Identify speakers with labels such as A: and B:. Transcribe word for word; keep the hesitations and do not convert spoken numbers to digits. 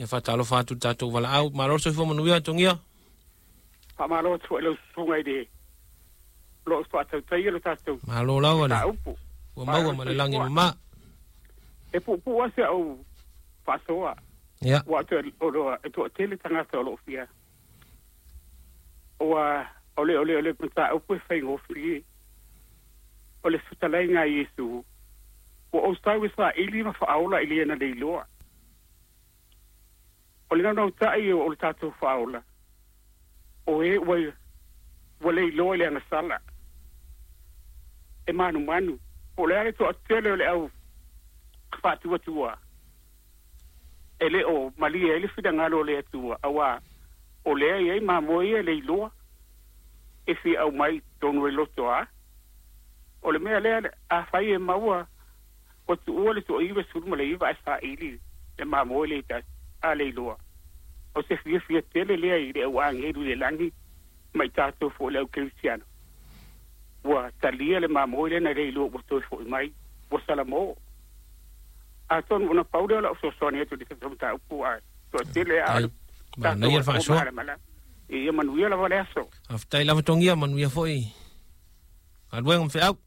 A: Ia faatalofa atu tatou valaau. Malo le soifua manuia, Togia.
B: Faamalo atu foi i lau susuga i le o lo o faatautaia lo tatou
A: Malo lava le
B: mataupu.
A: Ua maua ma le lagi mama.
B: E puupuu lava si au faasoa.
A: Ia.
B: Ua toe o lo e toatele tagata o lo o fia. Ua o le o le o le mataupu e faigofie. O le fetalaiga a Iesu ua ou sau e saili ma faaola i le na leiloa. O le naunautai o le tatou faaola o e ua ua leiloa i le agasala e manumanu. Po o le a le toatele o le au faatuatua e le o malie ai le finagalo o le Atua, auā o lea e i ai mamoe ia e leiloa e fia aumai i totonu e loto a. O le mea lea, afai e maua ua tuua le toaiva sefulu ma le iva ae saili le mamoe le tasi a leiloa, o se fiafia tele lea i le au agelu i le lagi ma i tatou foi le au kerisiano ua talia le mamoe lea na leiloa ua toe fo'i mai ua salamo. Atonu ona pau lea o la'u fesoasoani atu i le tatou mataupu ae toatele a
A: Ai. Manaia le faasoa.
B: Ia manuia lava le aso.
A: Faafetai lava, Togia, manuia foi galuega ma feau.